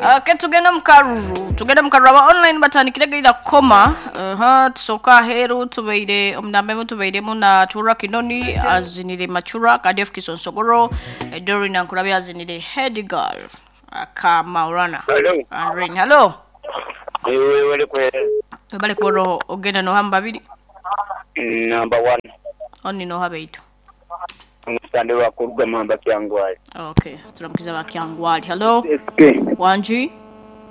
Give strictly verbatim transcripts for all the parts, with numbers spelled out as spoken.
Okay, tugenda mu karuru, tugenda mu karuru. Aba online batandikire gaira koma. Aha, tusoka aheru tubeire omunamba tubeiremu na Tura Kinoni azinire Machura Kadef Kisonsogoro, Dorina Nkurabi azinire Head Girl aka Maurana. Hello. Andrin, hello. Ewe wali kwe Bale kuboro ogenda no hamba babiri. Number one. Oni no habeitu. Omusande wa kuruga mamba Kyangwali. Okay, turamukiza ba Kyangwali. Hello. S K. Wanji.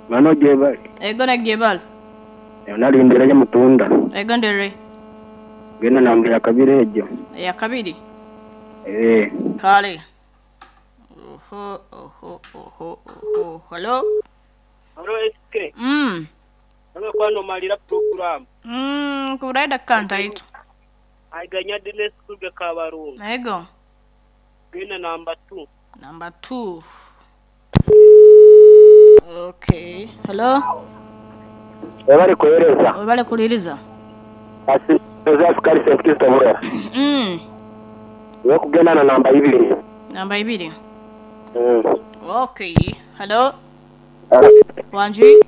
Mano jebali. Ego na jebali. Nalindira ya mutunda. Ego ndere. Genda namba ya kabiri ejo. Ya kabiri. Eh. Kale. Oho oho oho oho. Hello. Hello S K. Mm. Hello kwano malira program. Mm, kuraida kanta itu. Aiganya dile school ga Kabarungu. Ego. Genda number two. Number two. Okay. Hello. Webale kuhereza. Webale kuliriza. Asi Joseph Kari Saint Kristo Burera. Mm. Wewe kugenda na namba ibiri. Namba ibiri. Mm. Okay. Hello. Wanji.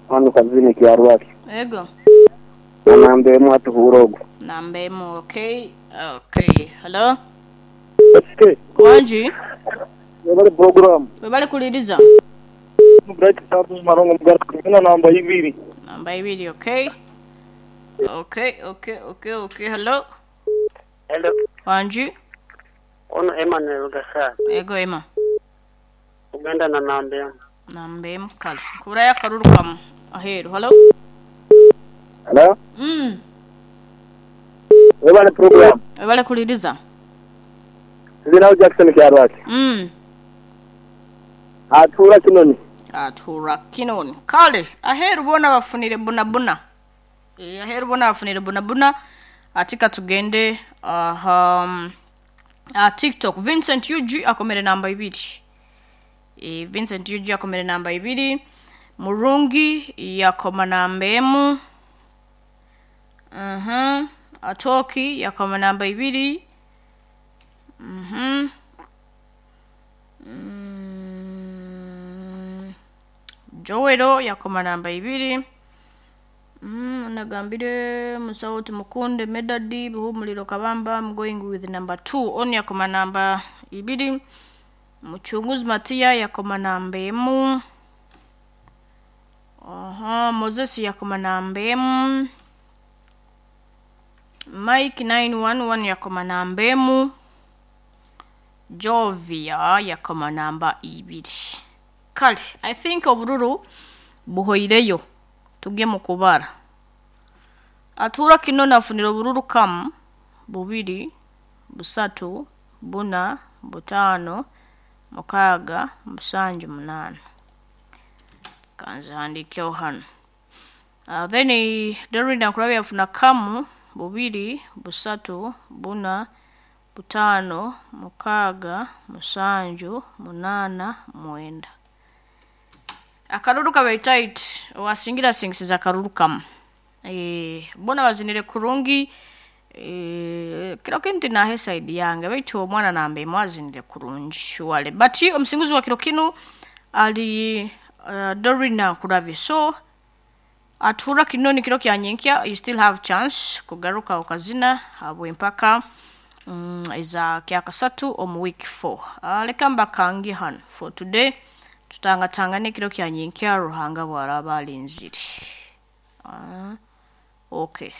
Hano kazini kiarwaki. Ego. Namba emu atuhurogo. Namba emu, okay. Okay. Hello. Okay. Wanji. Webale program. Webale kuliriza. Bright Tabu Marongo Mugara kugenda namba ibiri. Namba ibiri, okay. Okay, okay, okay, okay. Hello. Hello. Wanji. Ono Emmanuel Gasar. Ego Emma. Uganda na namba emu. Namba emu kale. Kuraya karurukamu. Aheru. Hello. Hello. Mm. Webale program. Webale kuliriza. Zina Jackson Kiarwaki. Mm. Atura Kinoni. Atura Kinoni. Kale, aheru bona bafunire buna buna. E, aheru bona bafunire buna buna. Atika tugende aha um, uh, TikTok Vincent U G akomere namba ibiri. E, Vincent U G akomere namba ibiri. Murungi yakoma namba emu. Mhm. Atoki yakoma namba ibiri. Mhm. Mm. Joero yakoma namba ibiri. Mm, nagambire musauti mukunde medadi buhumuliro kabamba. I'm going with number two. Oni yakoma namba ibiri. Muchunguzi Matia yakoma namba emu. Aha, Moses yakoma namba emu. Mike nine one one yakoma namba emu. Jovia yakoma namba ibiri. Kale, I think obururu buhoireyo. Tugye mu kubara. Atura kino nafunira obururu kamu bubiri busatu buna butano mukaaga musanju munana. Kanze handikeho hano. Uh, then Dorina Nkurabi yafuna kamu bubiri busatu buna butano mukaaga musanju munana mwenda. Akaruru kabe tight wasingira singisiza akaruru kamu. Eh, bona bazinire kurungi. Eh, kiro kinti na he side yange baitu omwana nambe mwazinire kurungi wale. But omusinguzi wa kiro kinu ali uh, Dorina Nkurabi. So atura kinoni kiro kya nyenkya, you still have chance kugaruka okazina habwe mpaka mm, iza kyakasatu omu week four. Uh, leka mbakangi hano for today. Tutangatangane kiro kya nyenkya Ruhanga bwaraba alinzire. Uh, okay.